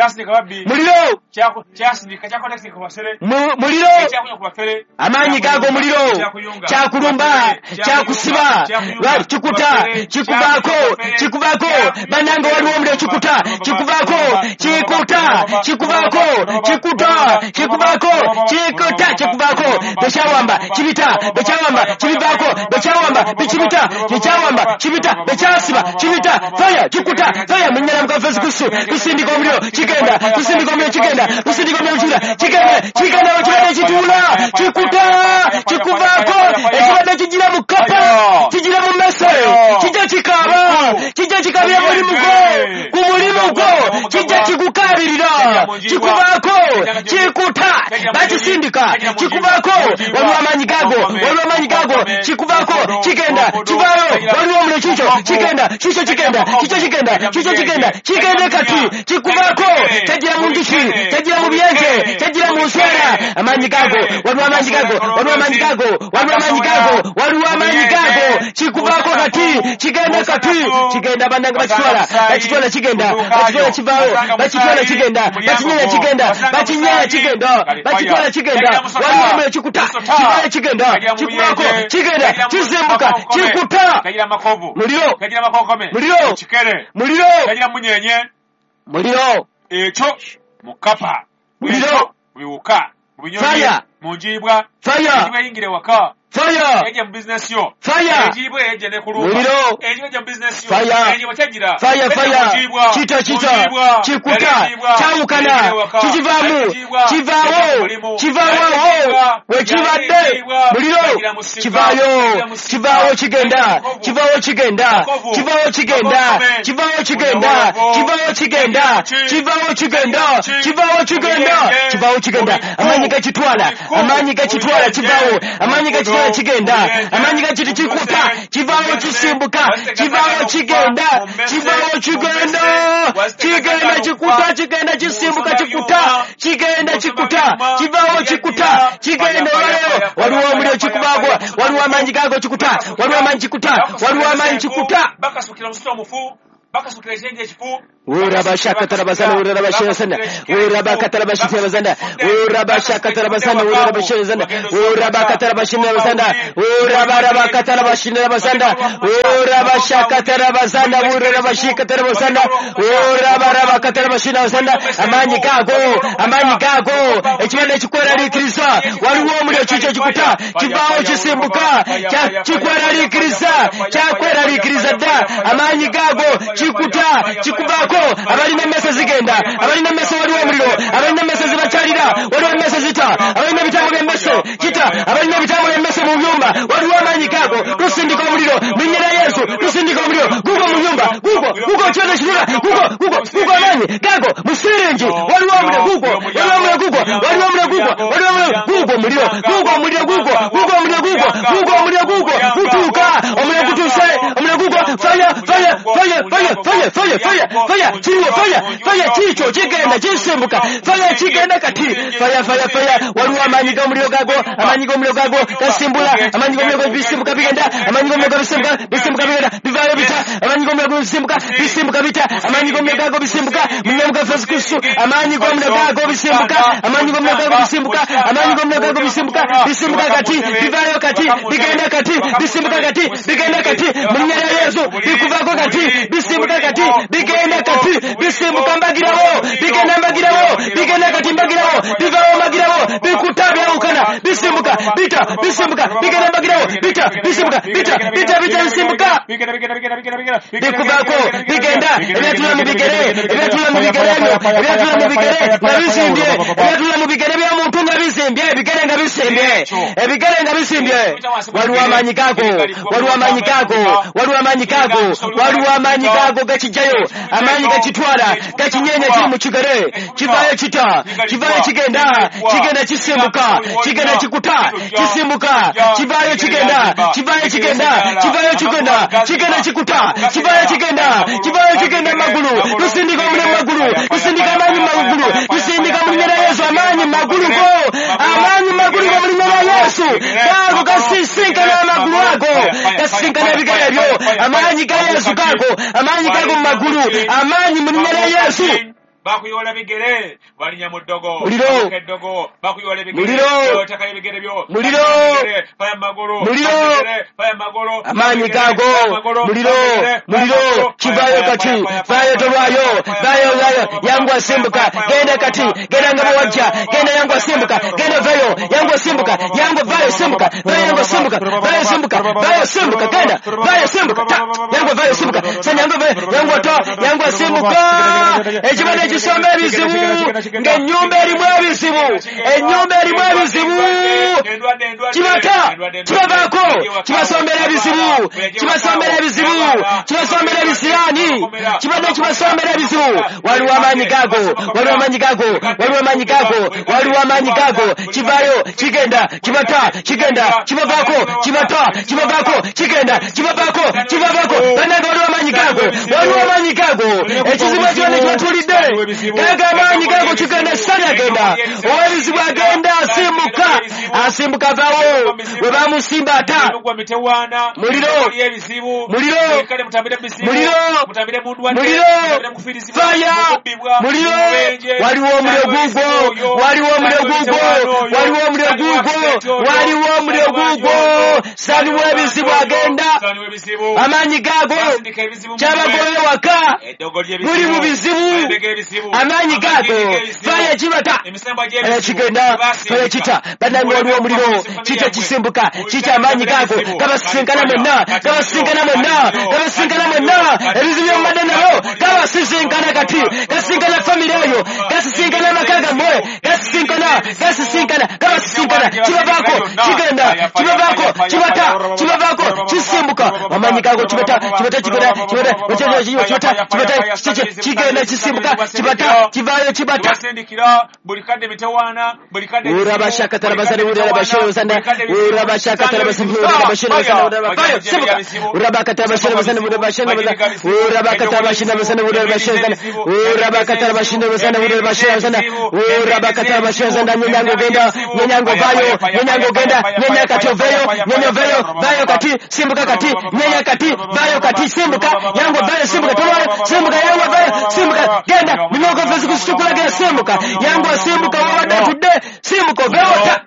muliro, muliro, amaanyi gago muliro, kyakulumba, kyakusiba, kikuta, kikuvaako, kikuvaako, bannange waliwo omuliro kikuta, kikuvaako, kikuta, kikuvaako, kikuta, kikuvaako, kikuta, kikuvaako, bekyawamba, kibita, bekyawamba, kibivaako, bekyawamba, bikibita, kikyawamba, kibita, bekyasiba, kibita, fire, kikuta, fire, mu nnyala Mukama Yesu Kristo, tusindika omuliro, kigenda, tusindika omuliro, kigenda, tusindika omuliro, kigenda, kigenda, kigenda, ekibadde kituula, kikuta, kikuvaako, ekibadde kigira mu kapa, kigira mu mmese, kijja kikaaba, kijja kikaabira mu mulimu gwo, ku mulimu gwo, kijja kikukaabirira, kikuvaako, kikuta, bakisindika, kikuvaako, waliwo amaanyi gago, waliwo amaanyi gago, kikuvaako, kigenda, kivaayo, waliwo omuliro kikyo, kigenda, kikyo kigenda, kikyo kigenda, kikyo kigenda, kigende kati, kikuvaako, kyagira mu njuki, kyagira mu byenje, kyagira mu nswera, amaanyi gago, waliwo amaanyi gago, waliwo amaanyi gago, waliwo amaanyi gago, waliwo amaanyi gago, kikuvaako kati, kigenda kati, kigenda bannange bakitwala, bakitwala kigenda, bakitwala kivaayo, bakitwala kigenda, bakinyeenya kigenda, bakinyeenya kigenda, bakitwala kigenda, kigenda, waliwo omuliro kikuta, kivaayo kigenda, kikuvaako kigenda, kisimbuka, kikuta, muliro, muliro, muliro, muliro, ekyo mukapa, muliro, biwuka, fire, munjibwa, fire, eyingire waka, fire, ejja mu business yo, fire, ejibwe ejja ne kulumba, muliro, ejja mu business yo, fire, ejibwa kyagira, fire, fire, kita, kita, kikuta, kyawukana, kikivaamu, kivaawo, kivaawo, wekibadde, muliro, kivaayo, kivaawo kigenda, kivaawo kigenda, kivaawo kigenda, kivaawo kigenda, kivaawo kigenda, kivaawo kigenda, kivaawo kigenda, kivaawo kigenda, amaanyi gakitwala, amaanyi gakitwala, kivaawo, amaanyi gakitwala kigenda, amaanyi gakiti kikuta, kivaawo kisimbuka, kivaawo kigenda, kivaawo kigenda, kigenda kikuta, kigenda kisimbuka, kikuta, kigenda kikuta, kivaawo kikuta, kigenda. Olwaleero waliwo omuliro kikubaagwo, waliwo amaanyi gaago kikuta, waliwo amaanyi kikuta, waliwo amaanyi kikuta. Bakasukira omusota omufu, bakasukira ekyenje ekifu, Urabashakatarabasana, urabashirasana, urabakatarabashirasana, urabashakatarabasana, urabashirasana, urabakatarabashirasana, urabarabakatarabashirasana, urabashakatarabasana, urabashikatarabasana, urabarabakatarabashirasana. Amaanyi gaago, amaanyi gaago, ekibanda ekikweraliikiriza, waliwo omuliro kikyo kikuta, kivaawo kisimbuka, kikweraliikiriza, kyakweraliikiriza dda, amaanyi gaago kikuta, kikuvaako. Abalina emmese zigenda, abalina emmese waliwo omuliro, abalina emmese zibakyalira, waliwo emmese zita, abalina ebitambo by'emmese kita, abalina ebitambo by'emmese mu byumba, waliwo amaanyi gaago. Tusindika omuliro mu linnya lya Yesu, tusindika omuliro gugwo mu nyumba, gugwo gugwo kyoto kirula, gugwo gugwo gugwo amaanyi gaago mu siringi, waliwo omuliro gugwo, waliwo omuliro gugwo, waliwo omuliro gugwo, waliwo omuliro gugwo, omuliro gugwo, omuliro gugwo, gugwo omuliro gugwo, gugwo omuliro gugwo, gutuuka omuliro gutuuse, omuliro gugwo, fire, fire, fire, fire, fire, fire, fire, fire, kiriwo, fire, fire, kikyo kigenda kisimbuka, fire kigenda kati, fire, fire, fire, waliwo amaanyi g'omuliro gaago, amaanyi g'omuliro gaago gasimbula, amaanyi g'omuliro gago bisimbuka bigenda, amaanyi g'omuliro gago bisimbuka, bisimbuka bigenda, bivaayo bita, amaanyi g'omuliro gago bisimbuka, bisimbuka bita, amaanyi g'omuliro gago bisimbuka, mu linnya lya Yesu Kristo, amaanyi g'omuliro gago bisimbuka, amaanyi g'omuliro gago bisimbuka, amaanyi g'omuliro gago bisimbuka, bisimbuka kati, bivaayo kati, bigenda kati, bisimbuka kati, bigenda kati, mu linnya lya Yesu, bikuvaako kati, bisimbuka kati, bigenda kati, bisimbuka mbagirawo, bigenda mbagirawo, bigenda kati mbagirawo, bivaawo mbagirawo, bikuta byawukana, bisimbuka, bita, bisimbuka, bigenda mbagirawo, bita, bisimbuka, bita, bita, bita, bisimbuka, bikuvaako, bigenda, ebyatula mu bigere, ebyatula mu bigere ebyo, ebyatula mu bigere nga bisimbye, ebyatula mu bigere by'omuntu nga bisimbye, ebigere nga bisimbye, ebigere nga bisimbye. Waliwo amaanyi gaago, waliwo amaanyi gaago, waliwo amaanyi gaago, waliwo amaanyi gaago gakijjayo, amaanyi gakitwala, gakinyeenya kiri mu kigere, kivaayo kita, kivaayo kigenda, kigenda kisimbuka, kigenda kikuta, kisimbuka, kivaayo kigenda, kivaayo kigenda, kivaayo kigenda, kigenda kikuta, kivaayo kigenda, kivaayo kigenda magulu, tusindika omuliro mu magulu, tusindika amaanyi mu magulu, tusindika mu linnya lya Yesu amaanyi mu magulu go, amaanyi mu magulu go mu linnya lya Yesu, gaago gasisinkana amagulu ago, gasisinkana ebigere ebyo, amaanyi ga Yesu gaago, amaanyi gago mu magulu, amaanyi mu linnya lya Yesu. Bakuyoola bigere, balinya mu ddogo, muliro, eddogo, bakuyoola ebigere, muliro, otaka ebigere byo, muliro, faya magulu, muliro, faya magulu, amaanyi gaago, muliro, muliro, kivaayo kati, vaayo tolwayo, vaayo, vaayo, yangu asimbuka, genda kati, genda nga bwewajja, genda yangu asimbuka, genda vayo, yangu asimbuka, yangu vaayo simbuka, vaayo yangu asimbuka, vaayo simbuka, vaayo simbuka, genda, vaayo simbuka, ta, yangu vaayo simbuka, sanya yangu vaayo, yangu ata, yangu asimbuka, ekibadde ekisomba ebizibu, ng'ennyumba erimu ebizibu, ennyumba erimu ebizibu, kibata, kibavaako, kibasombera ebizibu, kibasombera ebizibu, kibasombera ebisiraani, kibadde kibasombera ebizibu. Waliwo amaanyi gaago, waliwo amaanyi gaago, waliwo amaanyi gaago, waliwo amaanyi gaago, kivaayo, kigenda, kibata, kigenda, kibavaako, kibata, kibavaako, kigenda, kibavaako, kibavaako. Bannange waliwo amaanyi gaago, waliwo amaanyi gaago, ekizibu ekibadde kibatuulidde, gago amaanyi gaago kigenda, sitani agenda, ow'ebizibu agenda, asimbuka, Asimbuka avaawo we bamusimba ata. Muliro, muliro, muliro, muliro, fire, muliro. Waliwo omuliro gugwo, waliwo omuliro gugwo, waliwo omuliro gugwo, waliwo omuliro gugwo. Sani w'ebizibu agenda, amaanyi gaago kyabagoye waka, muli mu bizibu, amaanyi gaago fire kibata kigenda, fire kita. Bannange waliwo omuliro, kita kisimbuka, kita amaanyi gaago gabasisinkana mwenna, gabasisinkana mwenna, gabasisinkana mwenna. Ebizibu byomubadde nabo gabasisinkana kati, gasisinkana famire eyo, gasisinkana amaka gammwe, gasisinkana, gasisinkana, gabasisinkana. Kibavaako kigenda, kibavaako kibata, kibavaako kisimbuka. Amaanyi gaago kibata, kibata kigenda, kibata, kibata, kibata kigenda, kisimbuka, kibata, kivaayo kibata. Urabashakatarabasana, urabashozana, urabashakatarabasana, urabashozana, urabashozana, urabakatarabasana, urabashozana, urabakatarabasana, urabashozana, urabakatarabasana, urabashozana, urabakatarabashozana. Nyenyango genda, nyenyango vayo, nyenyango genda, nyenya kati oveyo, nyenya oveyo, vayo kati, simbuka kati, nyenya kati, vayo kati, simbuka, yango vayo, simbuka, tomayo, simbuka, yango vayo, simbuka, genda, minyogo fezi kusitukula genda, simbuka, yango simbuka, wabadde tudde, simbuka, oveyo ta.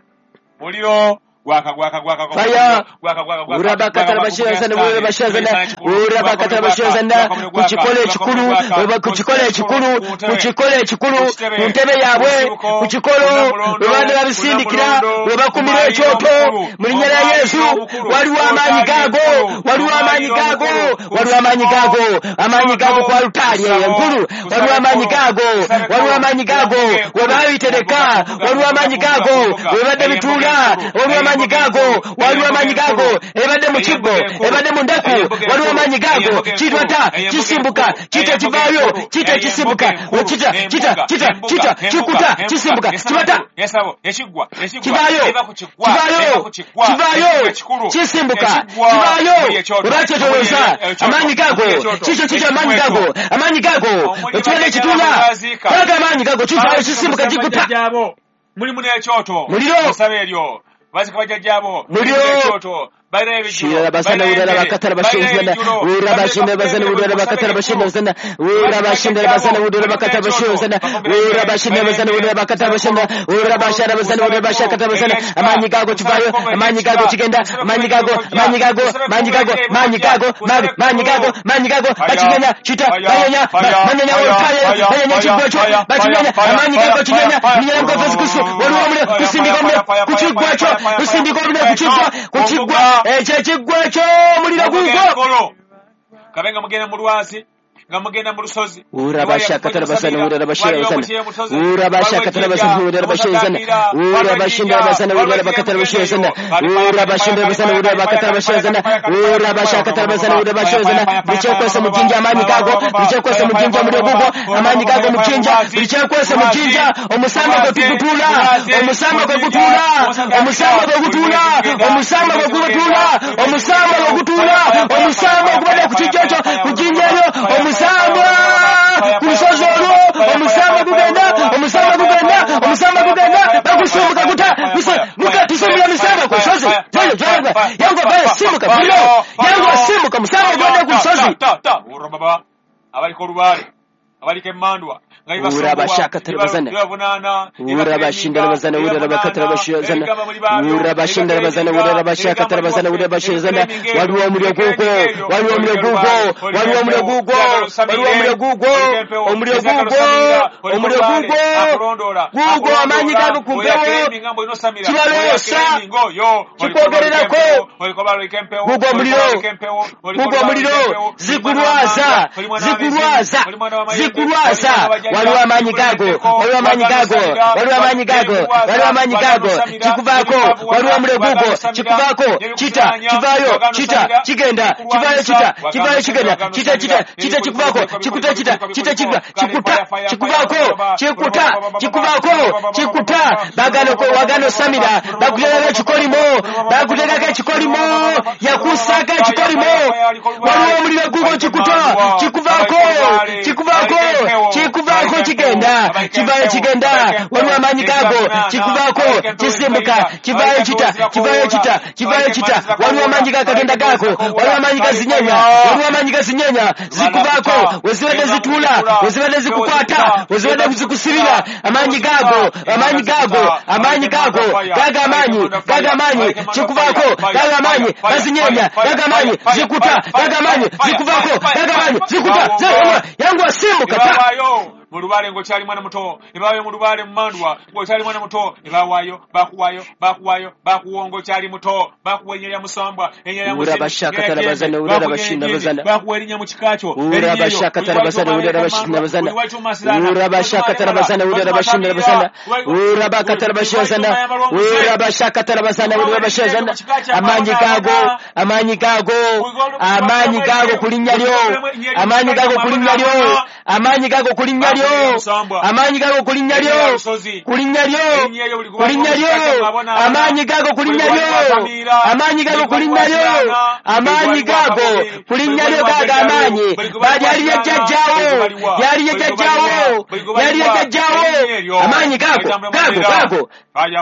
Muliro gwaka gwaka gwaka Fire. gwaka gwaka gwaka. Urabakatarabashozana, urabashozana, urabakatarabashozana. Ku kikolo ekikulu, ku kikolo ekikulu, ku kikolo ekikulu, ku ntebe yaabwe, ku kikolo we badde babisindikira, we bakumira ekyoto. Mu linnya lya Yesu, waliwo amaanyi gaago, waliwo amaanyi gaago, waliwo amaanyi gaago, amaanyi gaago ku alutaali eyo enkulu, waliwo amaanyi gaago, waliwo amaanyi gaago, we baabitereka, waliwo amaanyi gaago, we badde bituula, waliwo amaanyi gaago, waliwo amaanyi gaago, ebadde mu kibbo, ebadde mu ndeku, waliwo amaanyi gaago, kitwata, kisimbuka, kita kivaayo, kita kisimbuka, kita, kita, kita, kita, kikuta, kisimbuka, kibata, kivaayo, kivaayo, kivaayo, kisimbuka, kivaayo, webakyetolooza, amaanyi gaago, kikyo kikyo amaanyi gaago, amaanyi gaago, ekibadde ekituula, gago amaanyi gaago, kivaayo, kisimbuka, kikuta. Mulimu n'ekyoto. Muliro. Musaba eryo. Bazika bajjajjaabo. Muliro. Ekyoto. Shira basana urara bakatara bashozana urara bashinda basana urara bakatara bashinda basana urara bashinda basana urara bakatara bashozana urara bashinda basana urara bakatara bashinda urara bashara basana urara bashakatara basana. Amaanyi gago kivayo, amaanyi gago kigenda, amaanyi gago, amaanyi gago, amaanyi gago, amaanyi gago, amaanyi gago, amaanyi gago, bakigenda, kita, banyonya, banyonya olutaale, banyonya ekiggwa kyo, bakimenya, amaanyi gago kigenda, minyana mukofesi kusu, waliwo omuliro, kusindika omuliro ku kiggwa kyo, kusindika omuliro ku kiggwa, ku kiggwa. Ekyo ekiggwa ekyo omuliro gugwo. Kabe nga mugenda mu lwazi, nga mugenda mu lusozi. Urabashakatarabasana, urabashozana, urabashakatarabasana, urabashozana, urabashindabasana, urabakatarabashozana, urabashindabasana, urabakatarabashozana, urabashakatarabasana, urabashozana. Buli kyekwesa mu jjinja amaanyi gaago, buli kyekwesa mu jjinja omuliro gugwo, amaanyi gaago mu jjinja, buli kyekwesa mu jjinja, omusamba gwe tugutuula, omusamba gwe gutuula, omusamba gwe gutuula, omusamba gwe gutuula, omusamba gwe gutuula, omusamba ogubadde ku kijja ekyo, ku jjinja eryo, omusamba ku lusozi olwo, omusamba gugenda, omusamba gugenda, omusamba gugenda, bagusimbuka guta, muka tusimbula misamba ku lusozi, yango vayo simbuka, muliro, yango simbuka, musamba ogubadde ku lusozi. Abaliko olubaale, abaliko emmandwa, Urabashakatarabasana, urabashindarabasana, urabakatarabashozana, urabashindarabasana, urabashakatarabasana, urabashozana. Waliwo omuliro gugwo, waliwo omuliro gugwo, waliwo omuliro gugwo, waliwo omuliro gugwo, omuliro gugwo, omuliro gugwo, gugwo, amaanyi gago ku mpewo, kibaloosa, kikwogererako, gugwo omuliro, gugwo omuliro, zikulwaza, zikulwaza, zikulwaza. Waliwo amaanyi gago, waliwo amaanyi gago, waliwo amaanyi gago, waliwo amaanyi gago, kikuvaako, waliwo omuliro gugwo, kikuvaako, kita, kivaayo, kita, kigenda, kivaayo, kita, kivaayo, kigenda, kita, kita, kita, kikuvaako, kikuta, kita, kita, kikuta, kikuta, kikuvaako, kikuta, kikuvaako, kikuta, bagano wagano samira, bakuteekako ekikolimo, bakuteekako ekikolimo, yakussaako ekikolimo, waliwo omuliro gugwo, kikuta, kikuvaako, kikuvaako, kikuvaako, kigenda, kivaayo kigenda, waliwo amaanyi gaago, kikuvaako, kisimbuka, kivaayo kita, kivaayo kita, kivaayo kita, waliwo amaanyi gakagenda gaako, waliwo amaanyi gazinyenya, waliwo amaanyi gazinyenya, zikuvaako, wezibadde zituula, wezibadde zikukwata, wezibadde zikusibira, amaanyi gaago, amaanyi gaago, amaanyi gaago, gaga amaanyi, gaga amaanyi, kikuvaako, gaga amaanyi, gazinyenya, gaga amaanyi, zikuta, gaga amaanyi, zikuvaako, gaga amaanyi, zikuta, yanguwa simbuka ta. Mu lubaale ng'okyali mwana muto, ne bawaayo mu lubaale mu mandwa ng'okyali mwana muto, ne bawaayo, bakuwaayo, bakuwaayo, bakuwa ng'okyali muto, bakuwa erinnya lya musambwa, erinnya lya muzimu, bakuwa erinnya mu kika kyo, amaanyi gaago, amaanyi gaago, amaanyi gaago ku linnya lyo, amaanyi gaago ku linnya lyo, amaanyi gaago ku linnya lyo, amaanyi gago ku linnya lyo, ku linnya lyo, ku linnya lyo, amaanyi gago ku linnya lyo, amaanyi gago ku linnya lyo, amaanyi gago ku linnya lyo, gago amaanyi, lyali lya jjajjaawo, lyali lya jjajjaawo, lyali lya jjajjaawo, amaanyi gago, gago, gago,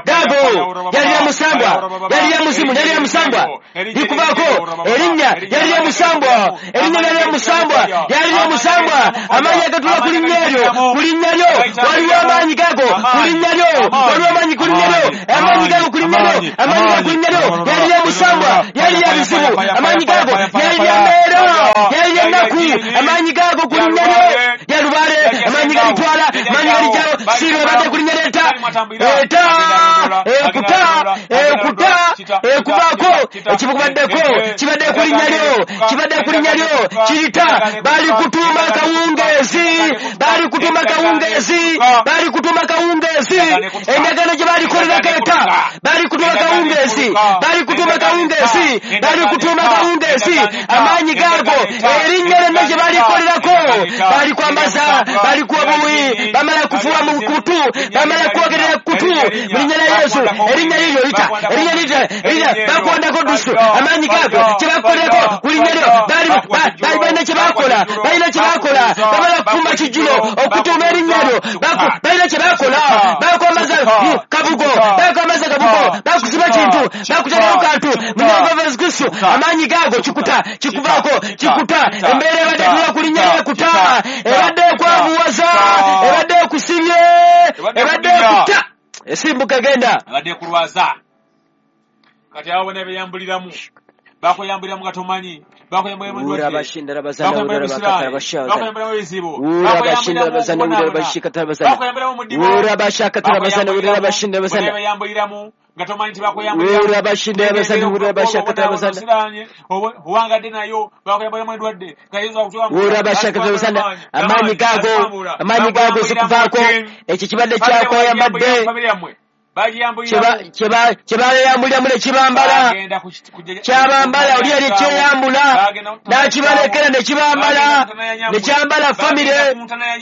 gago, lyali lya musambwa, lyali lya muzimu, lyali lya musambwa, likuvaako erinnya lyali lya musambwa, erinnya lyali lya musambwa, lyali lya musambwa, amaanyi agatula ku linnya eryo, ku linnya lyo, waliwo amaanyi gago, ku linnya lyo, waliwo amaanyi ku linnya lyo, amaanyi gago ku linnya lyo, amaanyi gago ku linnya lyo, lyali lya musambwa, lyali lya bizibu, amaanyi gago, lyali lya mbeera, lyali lya nnaku, amaanyi gago ku linnya lyo, lya lubaale, amaanyi galitwala, amaanyi galijjawo, siiro ebadde ku linnya ly'etta, eta, ekuta, ekuta, ekuvaako, ekikubaddeko, kibadde ku linnya lyo, kibadde ku linnya lyo, kirita, balikutuuma kawungeezi, balikutuma kawungeezi, balikutuma kawungeezi, endagaano gye balikolerako eta, balikutuma kawungeezi, balikutuma kawungeezi, balikutuma kawungeezi, amaanyi gaago, erinnya lyonna gye balikolerako, balikwambaza, balikuwa buwi, bamala kufuwa mu kutu, bamala kwogerera kutu, mu linnya lya Yesu, erinnya liryo lita, erinnya lita, erinnya, bakuwandako dusu, amaanyi gaago, kye bakukolerako, ku linnya lyo, bali balina kye bakola, balina kye bakola, bamala kufumba kijjulo, okutuuma erinnya lyo, balina kye bakola, bakwambaza kabugo, bakwambaza kabugo, bakusiba kintu, bakuteekako kantu, mu linnya lya Yesu Kristo, amaanyi gaago kikuta, kikuvaako, kikuta, embeera ebadde etula ku linnya lyo ekuta, ebadde ekwavuwaza, ebadde ekusibye, ebadde ekuta, esimbuka genda. Ebadde ekulwaza. Kati abo bonna beyambuliramu, bakweyambuliramu nga tomanyi, bakweyambuliramu ebizibu, bakweyambuliramu nga tomanyi nti bakweyambuliramu, owangadde nayo bakweyambuliramu endwadde, amaanyi gaago, amaanyi gaago zikuvaako, ekyo kibadde kyakweyambadde, kye bayambuliramu ne kibambala, kyabambala, oli yali kyeyambula n'akibalekera ne kibambala, ne kyambala famire.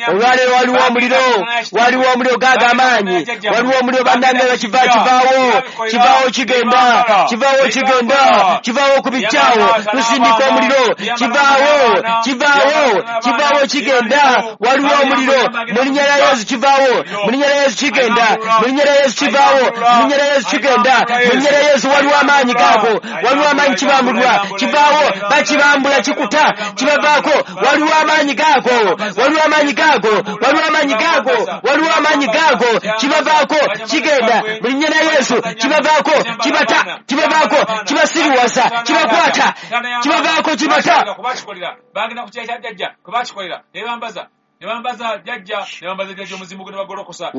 Olwaleero waliwo omuliro, waliwo omuliro gaago amaanyi, waliwo omuliro bannange, kiva kivaawo, kivaawo kigenda, kivaawo kigenda, kivaawo ku bijjaawo, tusindika omuliro, kivaawo, kivaawo, kivaawo kigenda, waliwo omuliro, mu linnya lya Yesu kivaawo, mu linnya lya Yesu kigenda, mu linnya lya Yesu kivaawo, mu linnya lya Yesu kigenda, mu linnya lya Yesu waliwo amaanyi gaago, waliwo amaanyi kibambulwa, kivaawo, bakibambula, kikuta, kibavaako, waliwo amaanyi gaago, waliwo amaanyi gaago, waliwo amaanyi gaago, waliwo amaanyi gaago, kibavaako, kigenda, mu linnya lya Yesu kibavaako, kibata, kibavaako, kibasiriwaza, kibakwata, kibavaako, kibata. Bagenda ku kya jjajja, kwe bakikolera, ne bambaza, ne bambaza jjajja, ne bambaza jjajja omuzimu gwe ne bagolokosa.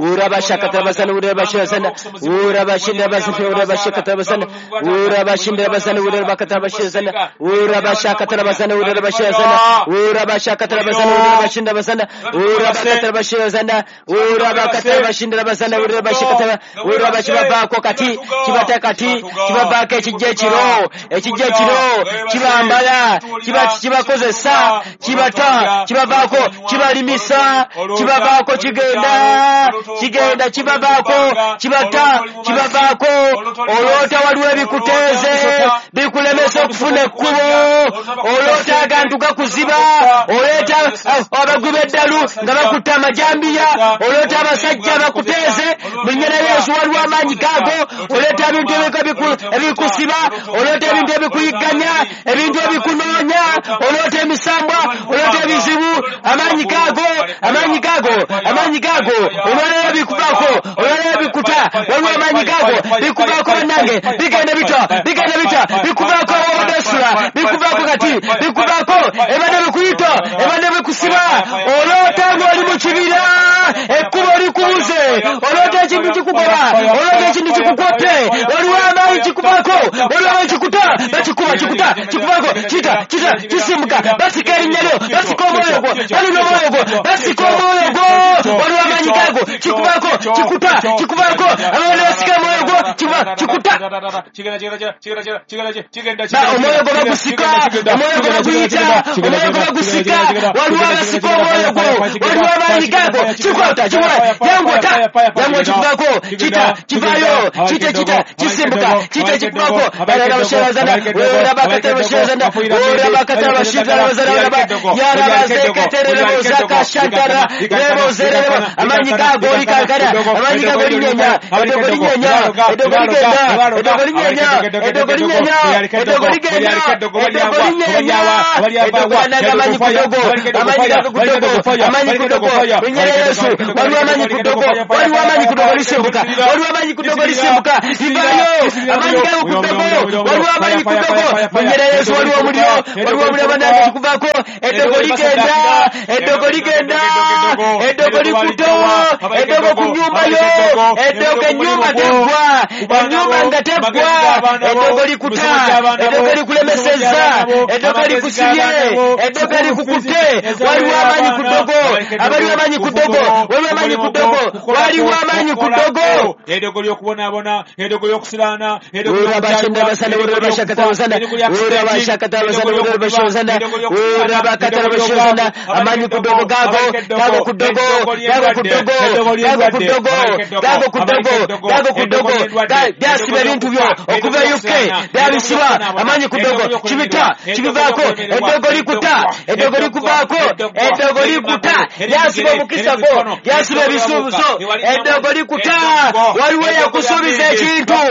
Kibavaako kati, kibata kati, kibavaako ekijja ekiro, ekijja ekiro, kibambala, kibakozesa, kibata, kibavaako, kibalimisa, kibavaako kigenda, kigenda, kibavaako, kibata, kibavaako, oloota waliwo ebikuteeze, bikulemesa okufuna ekkubo, oloota agantu gaku Bakuziba, oleeta abagwi b'eddalu nga bakutte amajambiya, oleeta abasajja bakuteeze. Mu linnya lya Yesu waliwo amaanyi gaago. Oleeta ebintu ebikusiba, oleeta ebintu ebikuyigganya, ebintu ebikunoonya, oleeta emisambwa, oleeta ebizibu. Amaanyi gaago, amaanyi gaago, amaanyi gaago. Olwaleero bikuvaako, olwaleero bikuta. Waliwo amaanyi gaago bikuvaako bannange, bigenda bitya, bigenda bitya, bikuvaako obadde osula, bikuvaako kati, bikuvaako ebadde bikuyita, ebadde bikusiba. Oloota ng'oli mu kibira, ekkubo likubuze, oloota ekintu kikugoba, oloota ekintu kikukwate. Waliwo amaanyi kikuvaako, waliwo amaanyi kikuta, bakikuba, kikuta, kikuvaako, kita, kita, kisimbuka. Basika erinnya lyo, basika omwoyo gwo, balina omwoyo gwo, basika omwoyo gwo. Waliwo amaanyi gaago, kikuvaako, kikuta, kikuvaako. Abaana basika omwoyo gwo, kikuta. Omwoyo gwo bagusika, omwoyo gwo baguyita, omwoyo gwo bagusika. Waliwo abasika omwoyo gwo, waliwo amaanyi gaago. Kikwata, kikwata, yanguwa ta, yanguwa, kikuvaako, kita, kivaayo, kita, kita, kisimbuka, kita, kikuvaako. Barabashirazana, orabakatarabashirazana, orabakatarabashirazana, yarabazekatererozaka shantara, rebozerebo. Amaanyi gaago likankana, amaanyi gaago linyenya, eddogo linyenya, eddogo ligenda, eddogo linyenya, eddogo linyenya, eddogo ligenda, eddogo linyenya, eddogo anaga amaanyi ku ddogo, amaanyi gago ku ddogo, amaanyi ku ddogo. Linnya lya Yesu, waliwo amaanyi ku ddogo, waliwo amaanyi ku ddogo lisimbuka, waliwo amaanyi ku ddogo lisimbuka, livaayo. Amaanyi gago ku ddogo, waliwo amaanyi ku ddogo. Linnya lya Yesu, waliwo omuliro, waliwo omuliro bannange, kikuvaako. Eddogo ligenda, eddogo ligenda, eddogo likuta, eddogo ku nnyumba yo, eddogo ennyumba teggwa, ennyumba nga teggwa. Eddogo likuta, eddogo likulemesezza, eddogo likusibye, eddogo likukutte. Waliwo amaanyi ku ddogo, abaliwo amaanyi ku ddogo, waliwo amaanyi ku ddogo, waliwo amaanyi ku ddogo. Eddogo ly'okubonaabona, eddogo ly'okusiraana, eddogo amaanyi ku ddogo gaago, gago ku ddogo, gago ku ddogo, gago ku ddogo, gago ku ddogo, gago ku ddogo. Byasiba ebintu byo okuva e UK, byabisiba. Amaanyi ku ddogo kibita, kibivaako. Eddogo likuta, eddogo likuvaako, eddogo likuta. Lyasiba omukisa gwo, lyasiba ebisuubizo. Eddogo likuta. Waliwo eyakusuubiza ekintu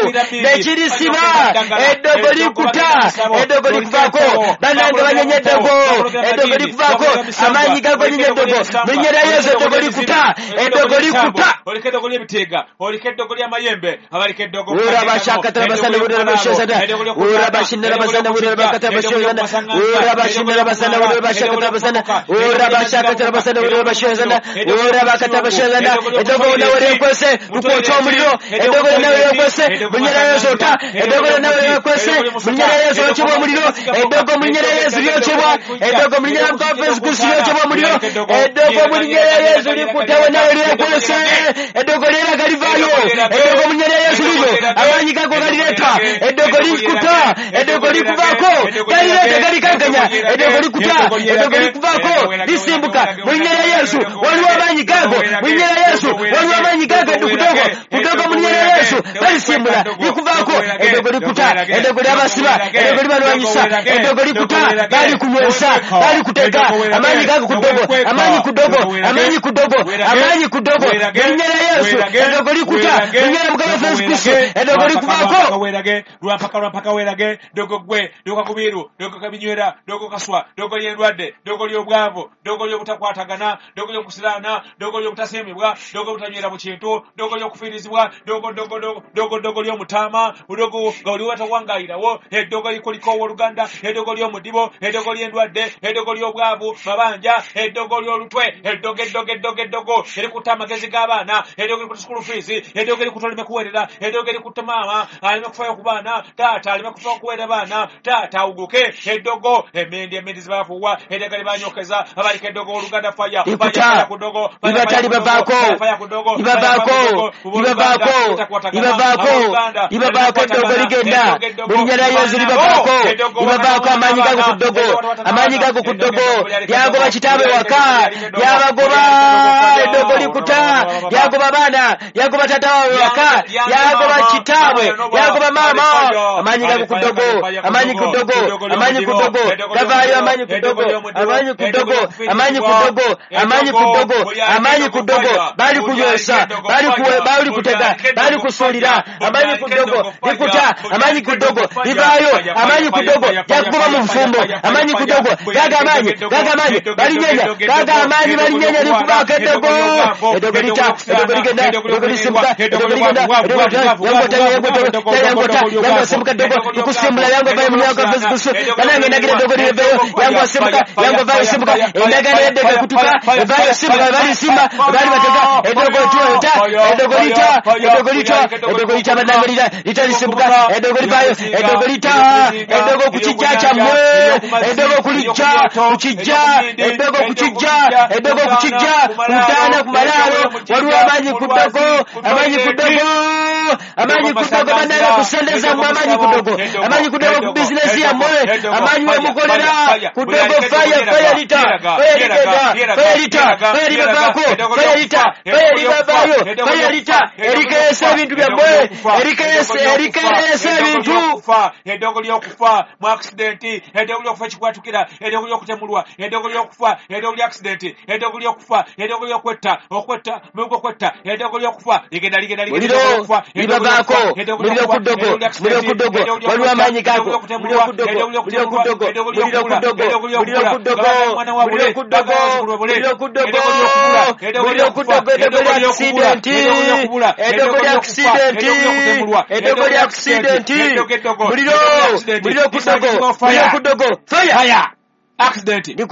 nekirisiba. Eddogo likuta, eddogo likuvaako. Bannange banyenye eddogo, eddogo likuvaako. Amaanyi gago nyinye eddogo. Mu linnya lya Yesu eddogo likuta, eddogo likuta. Oliko eddogo ly'ebiteega, oliko eddogo ly'amayembe, abaliko eddogo. Eddogo nawe lyekwese, lukwokya omuliro. Eddogo nawe lyekwese, mu linnya lya Yesu ota. Eddogo nawe lyekwese, mu linnya lya Yesu okyebwa omuliro. Eddogo mu linnya lya Yesu lyokyebwa. Eddogo mu linnya lya Mukama Yesu Kristo lyokyebwa omuliro. Eddogo mu linnya lya Yesu likuta, nawe lyekwese. Eddogo lyeraga livaayo. Eddogo mu linnya lya Yesu liryo, amaanyi gago galireeta. Eddogo likuta, eddogo likuvaako, galireeta, galikankanya. Eddogo likuta, eddogo likuvaako, lisimbuka. Mu linnya lya Yesu waliwo amaanyi gago. Mu linnya lya Yesu waliwo amaanyi gago. Kudogo, kudogo, mu linnya lya Yesu balisimbula, likuvaako. Eddogo likuta, eddogo lyabasiba, eddogo libalwanyisa, eddogo likuta, balikunywesa, balikutega. Amaanyi gago ku ddogo, amaanyi ku ddogo, amaanyi ku ddogo, amaanyi ku ddogo. Mu linnya lya Yesu eddogo likuta, mu linnya lya Mukama Yesu Kristo eddogo likuvaako. Werage lwampaka, lwampaka werage. Dogo gwe, dogo kakubiru, dogo kabinywera, dogo kaswa, dogo ly'endwadde, dogo ly'obwavu, dogo ly'obutakwatagana, dogo ly'okusiraana, dogo ly'obutasiimibwa, dogo obutanywera mu kintu, dogo ly'okufiirizibwa, dogo, dogo, dogo, dogo, dogo ly'omutaama, dogo nga oli watawangayirawo, eddogo likuliko owooluganda, eddogo ly'omudibo, eddogo ly'endwadde, eddogo ly'obwavu, mabanja, eddogo ly'olutwe, eddogo, eddogo, eddogo, eddogo erikutta amagezi g'abaana, eddogo erikutta school fees, eddogo erikutta oleme kuweerera, eddogo erikutta maama aleme kufaayo ku baana, taata aleme kufaayo kuweerera baana, taata awuguke, eddogo, emmendi, emmendi zibafuuwa, eddagala libanyokeza, abaliko eddogo oluganda faya, Likuta, ku ddogo, libatali bavaako, faya ku ddogo, libavaako, libavaako, libavaako, Libavaako eddogo ligenda mu linnya lya Yesu. Libavaako, libavaako amaanyi gago ku ddogo, amaanyi gago ku ddogo. Lyagoba kitaabwe waka, lyabagoba. Eddogo likuta, lyagoba baana, lyagoba taata waabwe waka, lyagoba kitaabwe, lyagoba maama. Amaanyi gago ku ddogo, amaanyi ku ddogo, amaanyi ku ddogo gavaayo. Amaanyi ku ddogo, amaanyi ku ddogo, amaanyi ku ddogo, amaanyi ku ddogo, amaanyi ku ddogo. Bali kunywesa, bali kutega, bali kusuulira. Amaanyi ku ddogo likuta, amaanyi ku ddogo livaayo. Amaanyi ku ddogo lyakugoba mu bufumbo. Amaanyi ku ddogo gaga amaanyi, gaga amaanyi balinyenya, gaga amaanyi balinyenya. Likubaako eddogo, eddogo lita, eddogo ligenda, eddogo lisimbuka, eddogo ligenda, eddogo yangota, yangota, yangota, yangosimbuka. Eddogo likusimbula, yangovayo munyakusu. Banange, endagira eddogo liveeyo. Yangosimbuka, yangovayo, simbuka. Endagaano y'eddogo ekutuka, evaayo, simbuka. Balisimba, bali batega eddogo lita, eddogo lita, eddogo lita, eddogo lita. Banange, lita, lita, lisimbuka eddogo, livaayo eddogo, lita eddogo ku kijja kyammwe, eddogo kulijja ku kijja, eddogo ku kijja, eddogo ku kijja, ku ntaana, ku malaalo. Waliwo amaanyi ku ddogo, amaanyi ku ddogo, amaanyi ku ddogo. Bannange, ku ssente zammwe, amaanyi ku ddogo, amaanyi ku ddogo, ku bizinesi yammwe, amaanyi wemukolera ku ddogo. Fire, fire lita, fire ligenda, fire lita, fire libavaako, fire lita, fire libavaayo, fire lita. Erikeesa ebintu byammwe, erikeesa ebintu. Eddogo ly'okufa mu accident, eddogo ly'okufa kikwatukira, eddogo ly'okutemulwa, eddogo ly'okufa, eddogo lya accident, eddogo ly'okufa, eddogo ly'okwetta, okwetta mugo, kwetta, eddogo ly'okufa ligenda, ligenda. Muliro libavaako, muliro ku ddogo, muliro ku ddogo. Waliwo amaanyi gago. Muliro ku ddogo, muliro ku ddogo, muliro ku ddogo, muliro ku ddogo, muliro ku ddogo, muliro ku ddogo, muliro ku ddogo. Eddogo lya accident, eddogo lya accident, eddogo lya accident. Muliro, muliro ku ddogo, muliro ku ddogo. Fire accident. Likuta.